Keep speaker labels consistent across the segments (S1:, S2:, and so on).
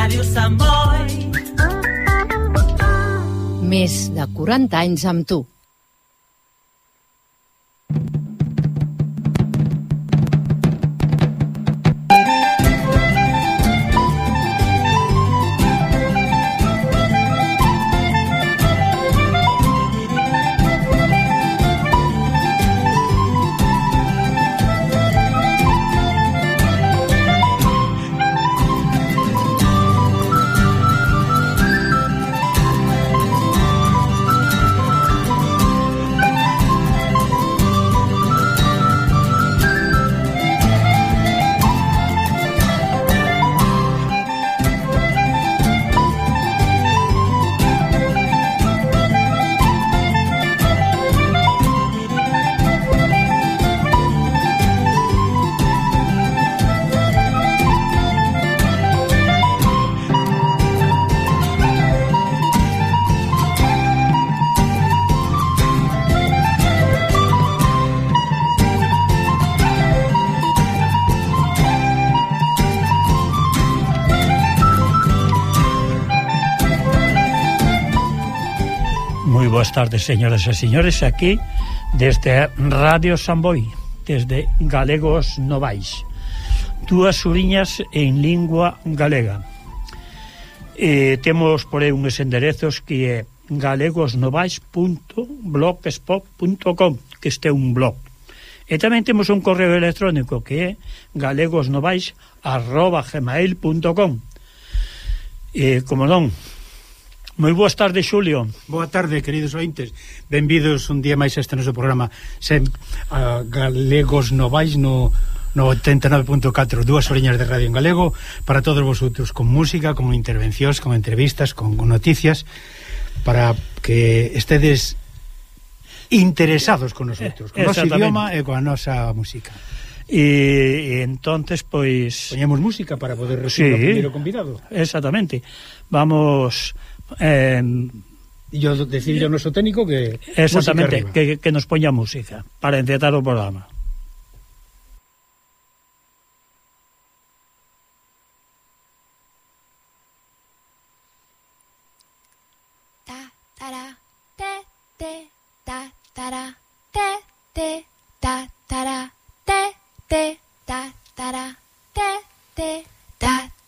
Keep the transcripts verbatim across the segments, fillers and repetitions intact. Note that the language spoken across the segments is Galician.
S1: Ràdio Sant Boi.
S2: Més de quaranta anys amb tu.
S3: Boas tardes, señoras e señores, aquí desde Radio San Boi, desde Galegos Novais, dúas uriñas en lingua galega. E temos por aí uns enderezos que é galegosnovais punto blogspot punto com, que este é un blog. E tamén temos un correo electrónico que é galegosnovais arroba gmail punto com. E como non, moi boas tardes, Xulio.
S4: Boa tarde, queridos ointes. Benvidos un día máis a este noso programa Sem, a Galegos Novais no, no oitenta e nove punto catro, dúas oriñas de radio en galego para todos vosotros, con música, con intervencións, con entrevistas, con, con noticias, para que estedes interesados con nosotros, con o noso idioma e con a nosa música.
S3: E, e entonces, pois...
S4: Poñemos música para poder recibir sí, o primeiro convidado.
S3: Exactamente. Vamos... Eh,
S4: yo decirle ao noso técnico que
S3: exactamente que, que nos poña música para encetar o programa.
S5: Ta tara te te ta tara te te ta tara te te ta tara te te ta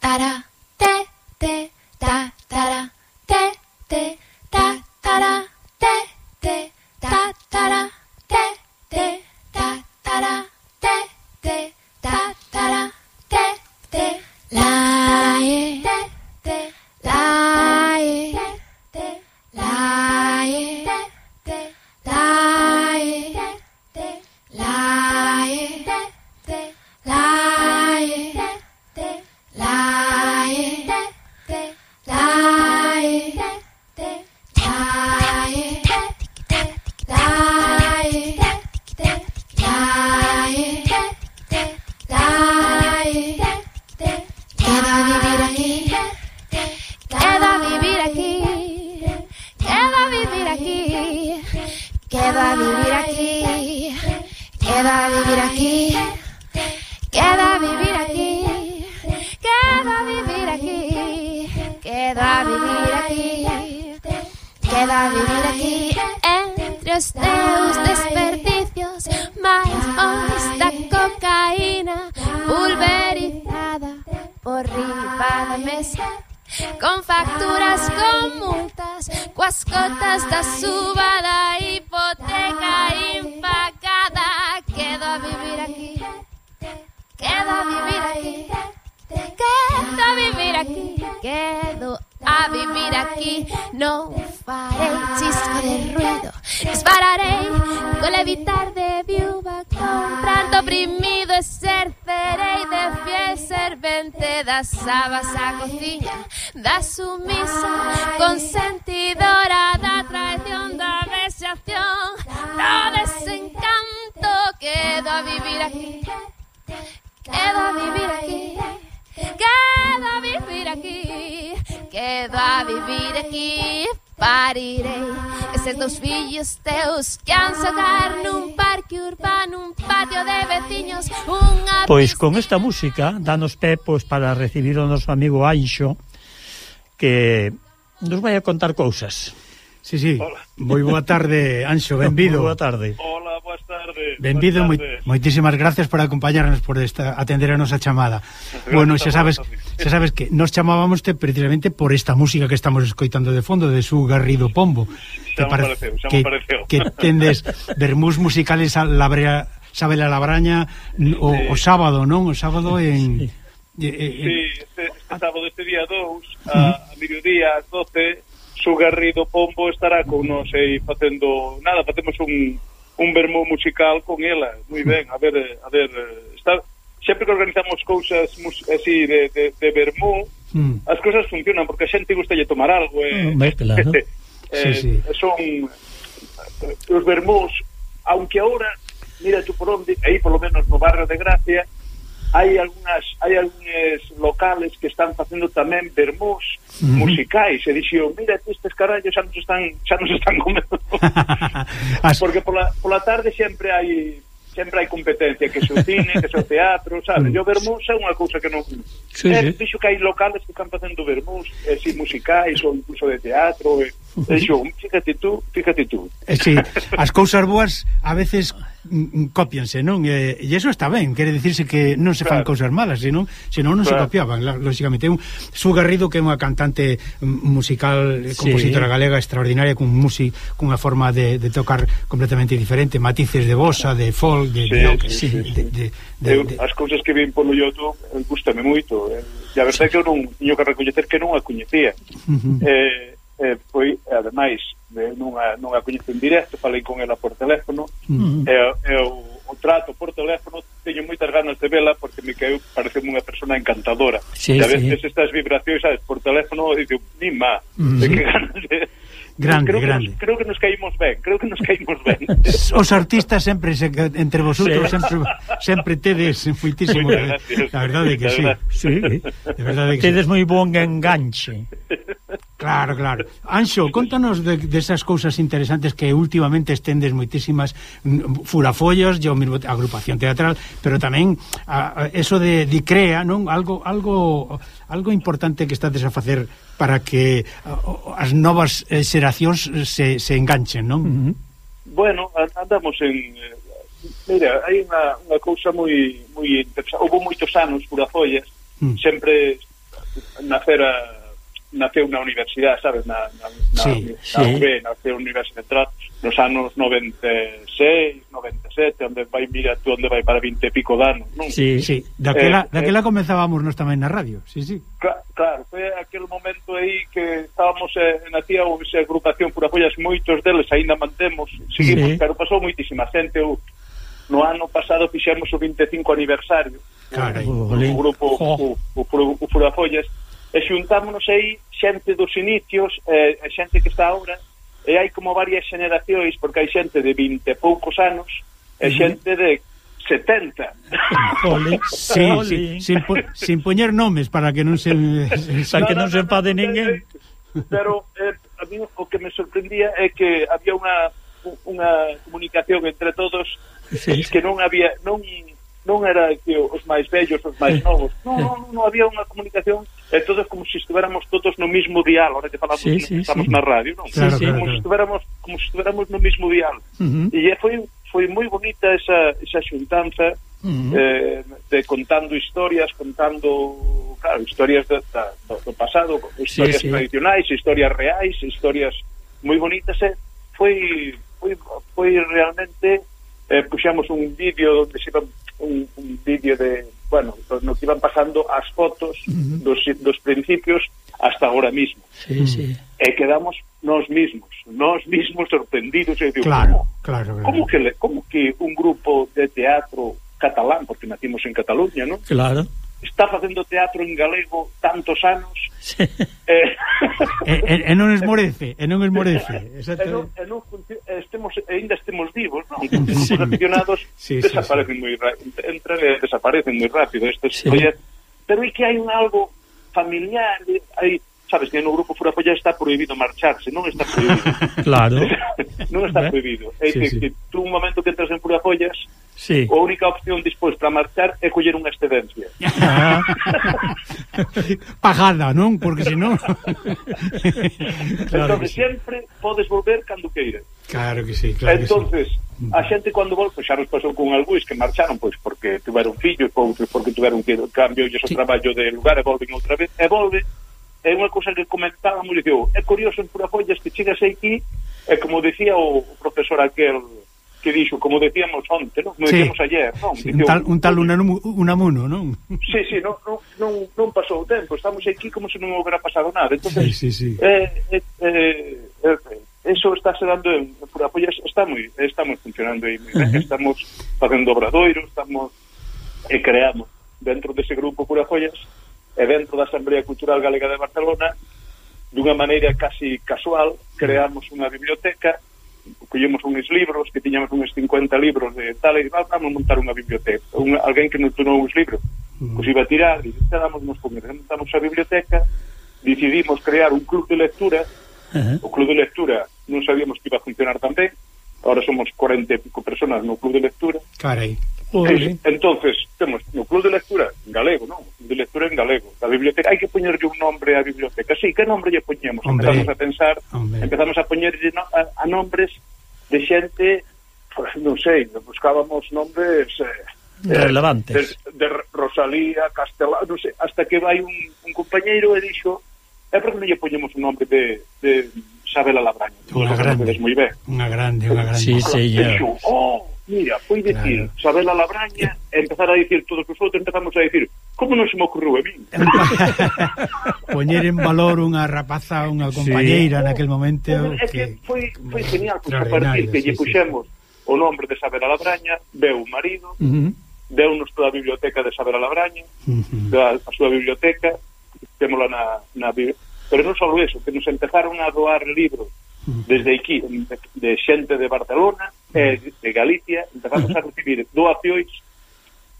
S5: tara te te ta tara te te ta tara te te ta tara te te ta tara te te ta tara te te la e te la e te la e te la e te la e te la e te la e te Queda vivir aquí, queda vivir aquí, queda vivir aquí, queda vivir aquí, queda vivir aquí, queda vivir aquí, entre os teus desperdicios, máis esta cocaína pulverizada por riba da mesa, con facturas, con multas, coas cotas da suba da hipoteca impagada. Quedo a vivir aquí, quedo a vivir aquí, quedo a vivir aquí, quedo a vivir aquí. Non farei chisco de ruido, dispararei con levitar de viúva, con pranto oprimido exercerei de fiel servente das sabas a cociña, da sumisa consentidora, da traición, da vexación, do desencanto. Quedo a vivir aquí, quedo a vivir aquí, quedo a vivir aquí, quedo a vivir aquí. Parirei eses dos fillos teus que han socar nun parque urbano, un patio de veciños, unha...
S3: Pois con esta música danos pé pois para recibir o noso amigo Anxo, que nos vai a contar cousas.
S4: Sí, sí. Moi boa tarde, Anxo, benvido.
S3: Boa tarde.
S1: Hola, boas tardes.
S4: Benvido, moi, moitísimas gracias por acompañarnos, por esta atender a nosa chamada. Bueno, xa sabes, xa sabes que nos chamábamos precisamente por esta música que estamos escoitando de fondo de Su Garrido Pombo.
S1: Xa me pareceu, xa me pareceu.
S4: Que tendes vermús musicales a labrea, sabe la labraña o, sí. o sábado, non? O sábado en...
S1: Sí, eh, eh, sí este, este sábado, este día dous, a, a mediodía, ás doce, Su Garrido Pombo estará con nos aí facendo nada, facemos un, un vermú musical con ela, moi ben, a ver, a ver, está, sempre que organizamos cousas así de, de, de vermú, mm. as cousas funcionan, porque a xente gustalle tomar algo, eh,
S3: mm, claro.
S1: eh, sí, sí. son os vermús, aunque ahora, mira tú por onde, aí polo menos no barrio de Gracia, hai algunhas hai algúns locales que están facendo tamén vermús uh-huh. musicais, e dixo, mira, estes carallos xa nos están xa nos están comendo. Porque pola, pola tarde sempre hai sempre hai competencia, que se o cine, que se o teatro, sabes? E o vermús é unha cousa que non...
S3: Sí,
S1: é,
S3: sí.
S1: Dixo que hai locales que están facendo vermús, eh, si musicais ou incluso de teatro, e, uh-huh. dixo, fíjate tú, fíjate tú.
S4: Eh, sí, as cousas boas a veces cópianse, non? E, e iso está ben, quere dicirse que non se fan claro. cousas malas, senón, senón non claro. se copiaban, lógicamente. Un Su Garrido, que é unha cantante musical, sí. compositora galega extraordinaria, con música, cunha forma de, de tocar completamente diferente, matices de bossa, de folk, de,
S1: sí,
S4: de,
S1: sí,
S4: de,
S1: sí.
S4: de, de, de,
S1: Eu,
S4: de
S1: as cousas que vin polo YouTube gustame moito, e a verdade é que eu non tiño que recoñecer que non a coñecía. Uh-huh. eh, eh, foi, ademais, de, non, a, non a coñezo en directo, falei con ela por teléfono, uh-huh. e, e o, o trato por teléfono teño moitas ganas de vela, porque me quedou, parece unha persona encantadora.
S3: Sí,
S1: e a veces
S3: sí.
S1: estas vibracións, sabes, por teléfono, e digo, ni má, uh-huh. de que ganas de...
S4: Grande,
S1: creo
S4: grande.
S1: Que nos, creo que nos caímos ben, creo que nos caímos ben.
S4: Os artistas sempre se, entre vosotros sí. sempre sempre tedes muitísimo, la verdade que sí.
S3: Sí.
S4: De verdade que
S3: tedes
S4: sí.
S3: moi bon enganche.
S4: Claro, claro. Anxo, contanos de, de esas cousas interesantes que últimamente estendes moitísimas furafollos, yo mismo agrupación teatral, pero tamén a, a, eso de, de crea, non? Algo algo algo importante que estades a facer para que a, as novas eh, xeracións se, se enganchen, non?
S3: Uh-huh.
S1: Bueno, andamos en... Eh, mira, hai unha, unha cousa moi moi interesante. Houve moitos anos furafollas, mm. sempre nacera naceu na universidade, sabes, na, na, na,
S4: sí,
S1: na
S4: sí.
S1: U B, naceu na Universidade Central nos anos noventa e seis, noventa e sete, onde vai, mira tú, onde vai para vinte e pico de anos, non?
S4: Sí, sí, daquela, eh, daquela
S1: eh,
S4: comenzábamos nos tamén na radio, sí, sí.
S1: Cl- claro, foi aquel momento aí que estábamos, eh, nacía esa agrupación Furafollas, moitos deles aínda mantemos, seguimos, sí. pero pasou moitísima xente, o, no ano pasado fixemos o vinte e cinco aniversario,
S4: Carai,
S1: o, o grupo, oh. o, o, o Furafollas, e xuntámonos aí xente dos inicios, e eh, xente que está ahora, e hai como varias xeneracións, porque hai xente de vinte e poucos anos e xente de setenta.
S3: Ole,
S4: sí, sí, sin, po, sin poñer nomes para que non se
S3: para que non se enfade ninguén.
S1: Pero eh, a mí o que me sorprendía é que había unha unha comunicación entre todos, sí, que non había non non era que os máis vellos, os máis novos, non, non, non había unha comunicación, e todos como se estuéramos todos no mismo dial, ahora que falamos,
S3: sí, sí,
S1: estamos
S3: sí.
S1: na radio, non?
S4: Claro,
S3: sí,
S1: como
S4: claro.
S1: se estuéramos como se estuéramos no mismo dial. Uh-huh. E foi foi moi bonita esa esa xuntanza, uh-huh. eh, de contando historias, contando, claro, historias de, da, do, do pasado, historias sí, sí. tradicionais, historias reais, historias moi bonitas, e foi foi foi realmente eh, puxamos un vídeo onde se iba un, un vídeo de, bueno, no que iban pasando as fotos uh-huh. dos, dos principios hasta ahora mismo.
S3: Sí, sí.
S1: E quedamos nós mismos, nós mismos sorprendidos. E digo,
S4: claro,
S1: ¿cómo,
S4: claro, claro.
S1: ¿cómo, que le, ¿Cómo que un grupo de teatro catalán, porque nacimos en Cataluña, ¿no?
S3: Claro.
S1: Está facendo teatro en galego tantos anos,
S3: sí.
S1: eh,
S4: e, e, e non esmorece, e non esmorece.
S1: e non, e non estemos, ainda estemos vivos, non? Sí. Os aficionados sí, desaparecen sí, sí. moi rápido, entran e desaparecen moi rápido. Estes sí. Oye, pero é que hai un algo familiar, hai sabes que no grupo Furafollas está prohibido marcharse, non está prohibido.
S3: Claro.
S1: Non está prohibido. É
S3: sí,
S1: que,
S3: sí.
S1: que tú un momento que entras en Furafollas,
S3: sí.
S1: a única opción despois para marchar é coller unha excedencia.
S4: Ah. Pagada, non? Porque senón...
S1: Claro entón, sempre sí. Podes volver cando queiras.
S4: Claro que sí, claro
S1: entonces,
S4: que sí.
S1: A xente cando volve, pois xa nos pasou con algúis que marcharon pois porque tiveron fillos, outros porque tiveron que cambio o sí. Traballo de lugar e volven outra vez, e volve. É unha cousa que comentábamos, diceu, é curioso en Furafollas que chegas aquí, e como decía o profesor aquel que dixo, como decíamos onte, non? Como sí. Decíamos ayer, non?
S4: Sí, diceu, un tal, un tal Unamuno, non?
S1: Sí, sí, non, non, non, non pasou o tempo, estamos aquí como se non houbera pasado nada. Entonces,
S4: sí, sí, sí.
S1: Eh, eh, eh, eh, eso está se dando en Furafollas, está moi, estamos funcionando aí moi ben, uh -huh. Estamos facendo obradoiros, estamos e creamos dentro dese grupo Furafollas e dentro da Asamblea Cultural Galega de Barcelona, dunha maneira casi casual, creamos unha biblioteca, collemos uns libros, que tiñamos uns cincuenta libros de tal, e vamos montar unha biblioteca. Un, alguén que nos donou uns libros, uh-huh. Pues iba a tirar, e damos nos comer, montamos a biblioteca, decidimos crear un club de lectura. Uh-huh. O club de lectura non sabíamos que iba a funcionar tan ben. Ahora somos cuarenta e pico personas no club de lectura.
S4: Carai.
S1: Sí, entonces, temos no club de lectura en galego, non? De lectura en galego. A biblioteca, hai que poñerlle un nombre á biblioteca. Sí, que nombre lle poñemos? Hombre. Empezamos a pensar, Hombre. empezamos a poñerlle no, a, a nombres de xente, pues, non sei, buscábamos nombres eh,
S3: relevantes.
S1: De, de Rosalía, Castelao, non sei, hasta que vai un, un compañeiro e dixo, é porque non lle poñemos un nombre de, de Isabela Labraña.
S4: Unha grande,
S1: moi ben.
S4: Unha grande, unha grande.
S3: Sí, sí, ya.
S1: Oh, mira, foi dicir claro. Isabela Labraña e empezar a dicir todos os outros, empezamos a dicir, como non se me ocurriu a min?
S4: Poñer en valor unha rapaza, unha compañeira sí. Naquel momento.
S1: É que, que foi, foi genial, porque a partir que lle sí, puxemos sí. O nombre de Isabela Labraña, veu o marido, uh -huh. Deu-nos toda a biblioteca de Isabela Labraña, uh -huh. a, a súa biblioteca, témola na, na pero non só eso, que nos empezaron a doar libros desde aquí, de, de xente de Barcelona e de Galicia, empezamos a recibir doacións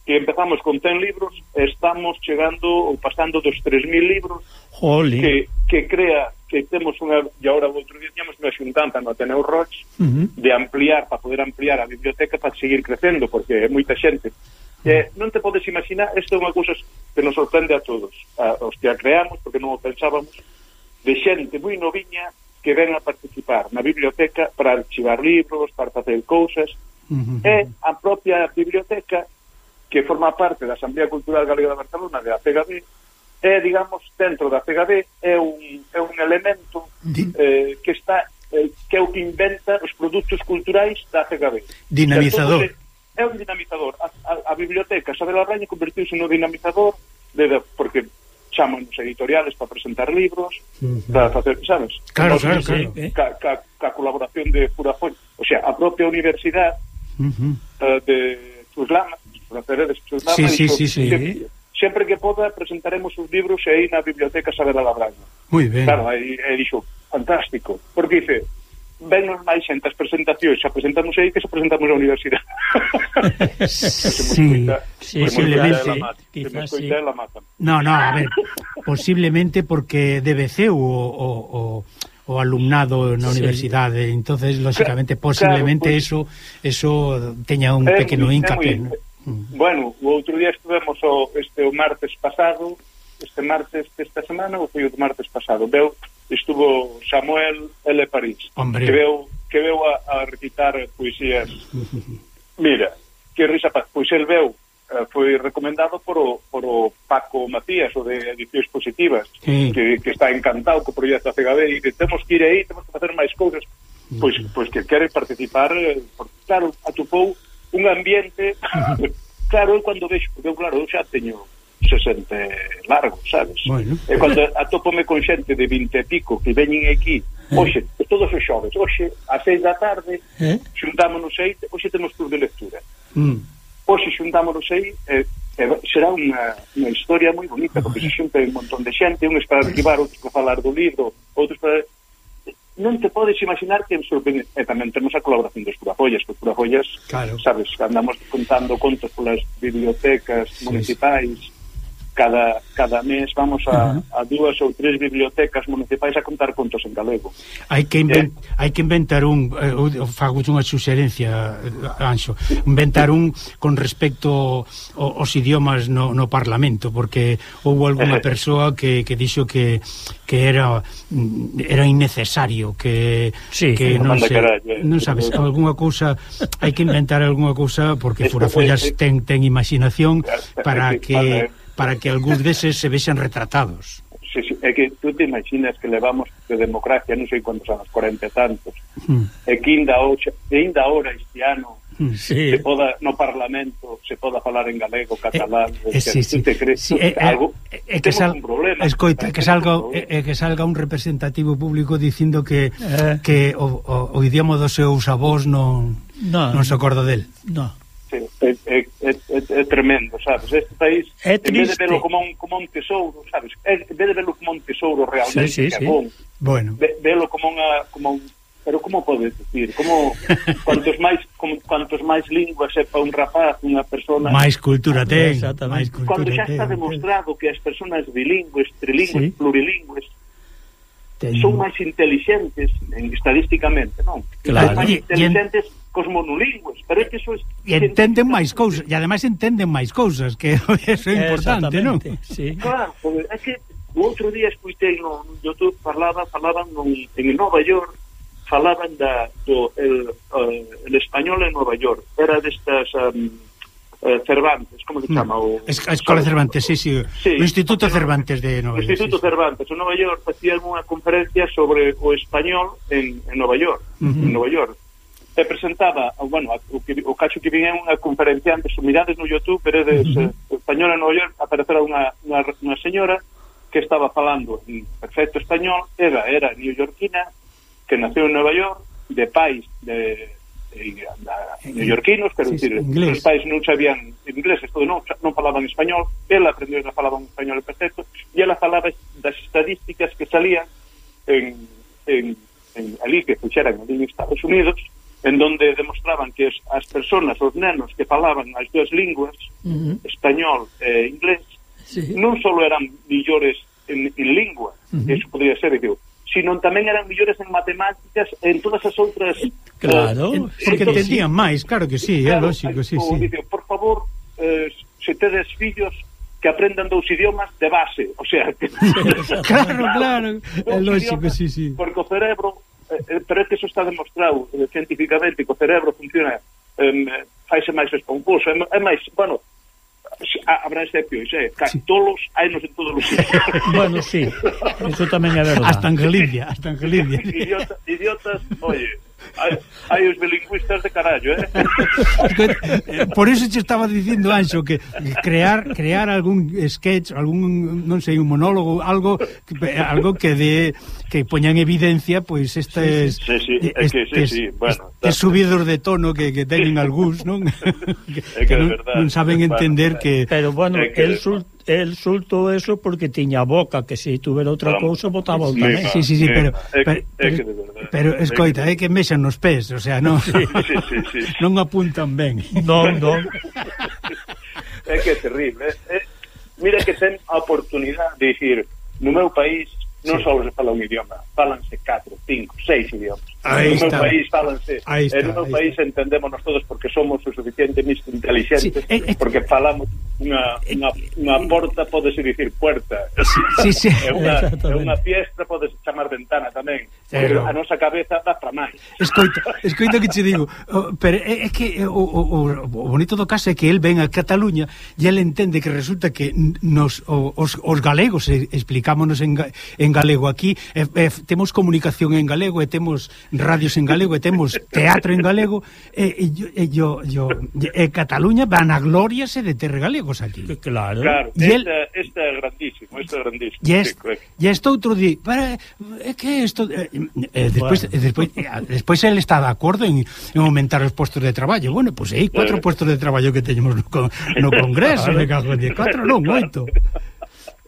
S1: que empezamos con cen libros e estamos chegando ou pasando dos tres mil libros.
S3: Jolín.
S1: que, que crea que temos unha, e agora o outro día temos unha xuntanza no Ateneu Roig uh -huh. de ampliar, para poder ampliar a biblioteca para seguir crecendo, porque é moita xente. Eh, non te podes imaginar, isto é unha cousa que nos sorprende a todos, a, os que a creamos, porque non o pensábamos, de xente moi noviña que ven a participar na biblioteca para archivar libros, para facer cousas, uh -huh. E a propia biblioteca, que forma parte da Asamblea Cultural Galega de Barcelona, de A C G B, é, digamos, dentro da C G B, é un, é un elemento eh, que está, eh, que é o que inventa os produtos culturais da C G B.
S4: Dinamizador.
S1: É un dinamizador. A, a, a biblioteca Isabela Labraña convertiuse no dinamizador de, de, porque chaman os editoriales para presentar libros, uh -huh. para facer, sabes?
S4: Claro,
S1: claro,
S4: claro.
S1: Eh? Ca, ca, ca colaboración de Furafollas, o sea, a propia universidade uh -huh. uh, de Chuslama, de Chuslama,
S4: sí, sí, sí, sí.
S1: Sempre, sempre que poda presentaremos os libros aí na biblioteca Isabela Labraña.
S4: Moi ben.
S1: Claro, aí e dixo, fantástico, porque dice, vennos máis xente as presentacións, xa presentamos aí que xa presentamos na universidade.
S4: Sí, sí, posiblemente.
S3: Quizás sí.
S4: No, no, a ver, posiblemente porque debe ser o, o, o, o alumnado na sí. universidade, entonces, lógicamente, posiblemente claro, pues, eso eso teña un é pequeno hincapié. ¿No?
S1: Bueno, o outro día estuvemos o, este, o martes pasado, este martes desta semana, ou foi o martes pasado, veu, estuvo Samuel L. París,
S4: Hombre.
S1: que veu, que veu a, a recitar poesías. Mira, que risa, pois el veu, foi recomendado por o, por o Paco Macías, o de Edicións Positivas, sí. que, que está encantado co proxecto A C G B, e que temos que ir aí, temos que facer máis cousas, pois, pois que quere participar, porque, claro, atopou un ambiente, claro, eu cando vexo, porque eu, claro, eu xa teño sesenta largo, sabes?
S4: Bueno.
S1: E cando atópome con xente de vinte e pico que veñen aquí, hoxe, todos os xoves, hoxe, a seis da tarde, eh? xuntámonos aí, hoxe temos club de lectura. Mm. Hoxe xuntámonos aí, eh, eh, será unha, unha historia moi bonita, porque se xunta un montón de xente, uns para arquivar, outros para falar do libro, outros para... Non te podes imaginar que sorprende. E tamén temos a colaboración dos Furafollas, que Furafollas, claro. Sabes, andamos contando contos polas bibliotecas sí, municipais, sí. cada cada mes vamos a,
S4: uh-huh.
S1: a dúas ou tres bibliotecas municipais a contar contos en galego.
S4: Hai que invent, eh. hai que inventar un eh, fago unha suxerencia, Anxo, inventar un con respecto aos idiomas no, no Parlamento, porque houve algunha persoa que, que dixo que que era era innecesario, que
S3: sí,
S4: que non
S1: se,
S4: carallo, non sabes, algunha cousa, hai que inventar algunha cousa porque Furafollas ten ten imaginación para que para que algúns deses se vexan retratados.
S1: Sí, sí, é que tú te imaginas que levamos de democracia non sei quantos anos, cuarenta e tantos, mm. e que ainda hoxe, ainda ahora este ano sí. se poda, no Parlamento se poda falar en galego, catalán, eh, eh, sí, sí. Tú te crees sí, eh, algo, eh,
S4: que sal,
S1: un problema.
S4: Escoita, que salga, eh, que salga un representativo público dicindo que eh. que o, o, o idioma dos seus avós non no, non se acorda del.
S3: No.
S1: Sí, é, é, é, é tremendo, sabes? Este país,
S3: é
S1: en vez de verlo como un, como un tesouro, sabes? En vez de verlo como un tesouro realmente,
S3: sí, sí,
S1: que é bon,
S3: sí.
S4: Bueno.
S1: Ve, verlo como unha, como un, pero como podes decir? Como cuantos máis, como, cuantos máis linguas sepa un rapaz, unha persona,
S4: máis cultura ten,
S3: máis cultura
S1: cando xa
S3: ten,
S1: está demostrado ten. Que as personas bilingües, trilingües, sí. plurilingües
S3: ten.
S1: Son máis inteligentes en, estadísticamente, non?
S3: Claro.
S1: Son máis inteligentes en... cos monolingües, pero é que eso es...
S4: E entenden máis cousas, e ademais entenden máis cousas, que eso é importante, non?
S3: Sí.
S1: Claro, é que o outro día escuitei no YouTube, falaba, falaban no, en Nova York, falaban da, do el, uh, el español en Nova York, era destas um, uh, Cervantes, como se chama? O,
S4: a Escola Cervantes, sí, sí, sí, o Instituto Cervantes de Nova York.
S1: O Instituto sí, Cervantes, en Nova York, facían unha conferencia sobre o español en, en Nova York, uh-huh. en Nova York. E presentaba, bueno, o, que, o cacho que vin é unha conferenciante, mirades no YouTube, pero de uh-huh. eh, español en Nova York, aparecerá unha, unha, unha señora que estaba falando en perfecto español, era, era neoyorquina, que naceu en Nova York, de pais de, de, de neoyorquinos, quero sí, dicir, sí, os pais non sabían inglés, todo non, non falaban español, ela aprendeu que falaban español perfecto, e ela falaba das estadísticas que salían en, en, en ali, que puxeran ali en Estados Unidos, en donde demostraban que as personas, os nenos que falaban as dúas linguas, uh-huh. español e inglés, sí. non só eran millores en, en lingua, uh-huh. eso podría ser, digo, sino tamén eran millores en matemáticas e en todas as outras...
S4: Claro, uh, porque entendían sí. máis, claro que sí, claro, é lógico, sí, sí.
S1: Digo, por favor, eh, se tedes fillos que aprendan dous idiomas de base, o sea... Que,
S4: claro, claro, é lógico, sí, sí.
S1: Porque o cerebro... Eh, pero é que eso está demostrado eh, científicamente, que o cerebro funciona eh, faise máis esponjoso, é, é máis, bueno, habrá excepcións, eh, tolos hai nos en todos os sitios.
S3: Bueno, sí, eso tamén é verdade.
S4: Hasta en Galicia, hasta en Galicia.
S1: Idiota, idiotas, oye, hai, hai os bilingüistas de carallo, eh?
S4: Por eso te estaba dicindo, Anxo, que crear crear algún sketch, algún, non sei, un monólogo, algo algo que de que poña en evidencia, pois pues, estes
S1: sí, sí, sí, es que sí, sí, bueno,
S4: estes subidos de tono que, que teñen algúns, non? que,
S1: é que non,
S4: non saben entender bueno, que...
S3: Pero bueno, que el sul el sulto eso porque tiña boca, que se tuvera outra cousa botaba o tamén.
S4: Sí, sí, sí, pero pero, pero, pero escoita, é que mexan nos pés, o sea, non
S1: sí, sí, sí, sí.
S4: non apuntan ben.
S3: Non, non.
S1: É que é terrible. Eh? Mira que ten a oportunidade de dicir, no meu país non sí. só se fala un idioma, falanse catro, cinco, seis idiomas.
S4: Ahí
S1: no
S4: está.
S1: meu país falanse,
S4: ahí está,
S1: en no meu país está. Entendémonos todos porque somos o suficientemente inteligentes, sí, eh, eh, porque falamos unha, unha, unha porta, podese dicir puerta.
S4: Sí, sí, sí.
S1: É unha, é unha fiestra, podese chamar ventana tamén. Pero a nosa cabeza dá para máis.
S4: Escoita, escoita que che digo, oh, pero é, é que o, o, o bonito do caso é que el ven a Cataluña e el entende que resulta que nos o, os, os galegos explicámonos en, en galego aquí, e, e, temos comunicación en galego e temos radios en galego e temos teatro en galego e, e, e, yo, yo, e Cataluña van a gloriase de ter galegos aquí.
S3: Claro.
S1: Claro,
S4: esta,
S1: el, esta é grandísimo, esta é grandísimo.
S4: E este, sí, este outro di, para, é que isto... Eh, eh, despois, bueno. despois, eh, despois el está de acordo en, en aumentar os postos de traballo. Bueno, pois pues, aí cuatro eh. postos de traballo que teñemos no, no Congreso, claro. Me cago en diez, cuatro non, oito.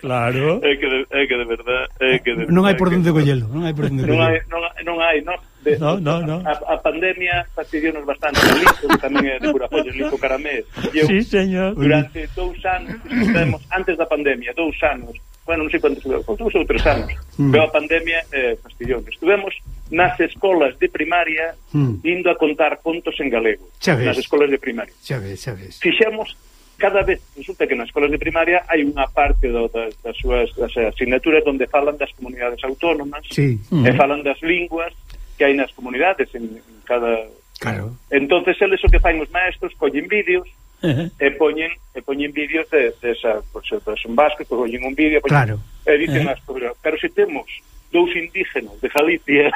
S3: Claro.
S1: É que de, é que de verdad, é que de,
S4: non hai por onde collelo, non hai por onde collelo.
S1: Non hai, non, non hai, non, de,
S3: no, no, no.
S1: A, a pandemia fastidiou-nos bastante o Lico, que tamén é de Curafolles, Lico Caramés. Eu,
S3: sí, señor.
S1: Durante dous anos, estivemos, antes da pandemia, dous anos, bueno, non sei quantos, dous ou tres anos, mm. pero a pandemia eh, fastidiou. Estivemos nas escolas de primaria mm. indo a contar contos en galego. Nas escolas de primaria.
S4: Xa ves, xa ves.
S1: Fixemos, cada vez, resulta que nas escolas de primaria hai unha parte do, das, das súas das asignaturas onde falan das comunidades autónomas,
S4: sí.
S1: mm. e falan das linguas que hai nas comunidades en, en cada...
S4: Claro.
S1: Entonces, eles o que fan os maestros, collen vídeos,
S3: Uh-huh.
S1: e poñen e poñen vídeos de, de esa, pues, son vascos, pues, poñen un vídeo,
S4: claro.
S1: E dicen uh-huh. as, pero, pero se temos dous indígenas de Galicia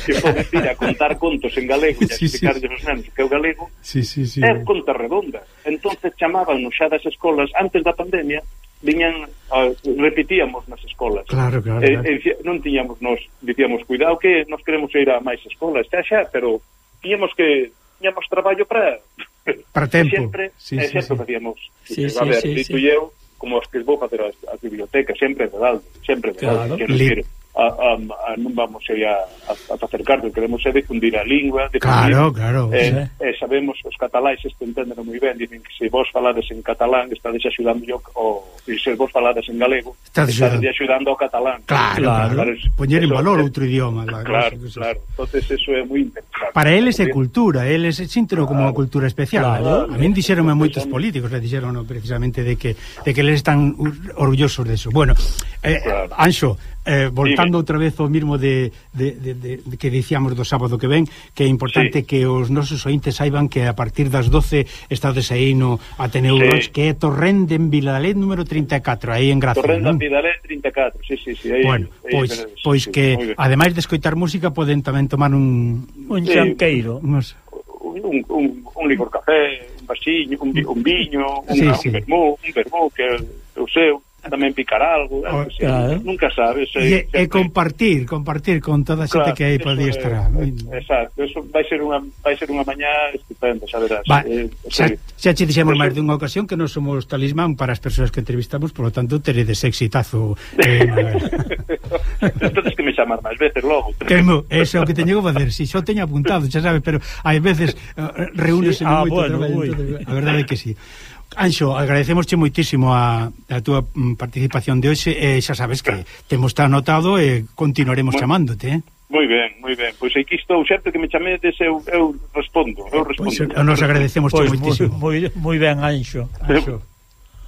S1: que poden ir a contar contos en galego e
S4: sí,
S1: explicarles
S4: sí.
S1: os nenos que é o galego,
S4: sí, sí, sí.
S1: é conta redonda. Entonces chamábanos xa das escolas antes da pandemia, viñan, uh, repetíamos nas escolas.
S4: Claro, claro,
S1: e,
S4: claro.
S1: E, non tiñamos, nos dicíamos, cuidado que nos queremos ir a máis escolas, xa xa, pero tiñamos que tiñamos traballo para
S4: para tempo.
S1: Sempre,
S4: sí,
S1: sí,
S4: sí,
S1: sempre
S4: sí.
S1: facíamos.
S3: Sí,
S1: a ver,
S3: sí,
S1: dito
S3: sí.
S1: eu, como os que vou facer as, as bibliotecas, sempre de Daldo, sempre de Daldo.
S3: Claro.
S1: Quero dicir, a, a, a, non vamos a, a, a facer cargo, queremos é difundir a lingua, difundir,
S4: claro, claro.
S1: Eh,
S4: sí.
S1: eh, sabemos, os cataláis isto entenden moi ben, dicen que se vos falades en catalán, estades axudando o, e se vos falades en galego, estades axudando ao catalán.
S4: Claro, claro, claro. Poñer en valor outro idioma.
S1: La, claro, cosa, claro, entonces eso é moi interesante.
S4: Para eles é cultura, eles sínteno como claro. Unha cultura especial. Claro. A min dixeronme moitos políticos, le dixeron precisamente de que de que eles están orgullosos de eso. Bueno, eh, claro. Anxo, eh, voltando outra vez ao mismo de, de, de, de, de que dicíamos do sábado que ven, que é importante sí. que os nosos ointes saiban que a partir das doce estades aí no Ateneu sí. que é Torrente en Vilalé número trinta e catro, aí en Gracia.
S1: Torrente en Vilalé trinta e catro, sí, sí, sí. Aí,
S4: bueno,
S1: aí,
S4: pois,
S1: aí,
S4: pois
S1: sí,
S4: que ademais de escoitar música poden tamén tomar un...
S3: Un sí. chanqueiro.
S1: Unos... Un, un, un, un licor café, un vasiño, un, un viño, un,
S4: sí,
S1: un
S4: sí.
S1: vermú, un vermú que é o seu. Tamén picar algo, oh, sí, claro. Nunca sabes.
S4: E, e compartir, compartir con toda a xente claro, que aí podía estar.
S1: É, exacto, eso vai ser unha vai ser unha mañá estupenda, xa verás.
S4: Va,
S1: eh,
S4: xa, xa che dixemos máis dunha ocasión que non somos talismán para as persoas que entrevistamos, por lo tanto teredes exitazo. Eh,
S1: Entonces que me chamar máis veces logo.
S4: Que mo, eso é o que teño que facer, si xo teño apuntado, xa sabes, pero hai veces uh, reúnese sí, ah, moito bueno, traballo, entonces, a verdade é que si. Sí. Anxo, agradecemosche moitísimo a, a túa participación de hoxe e xa sabes que temos está anotado e continuaremos moi, chamándote, eh?
S1: Moi ben, moi ben. Pois aquí estou, sempre que me chamedes eu, eu respondo, eu respondo.
S4: Pois nos agradecemos
S3: pois,
S4: moitísimo.
S3: Moi, moi ben, Anxo.
S1: Anxo.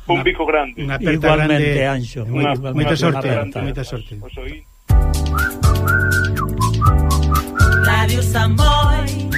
S1: Un bico grande.
S4: Unha aperta
S3: igualmente,
S4: grande.
S3: Anxo.
S4: Moita sorte, moita sorte.
S6: Radio Samboy.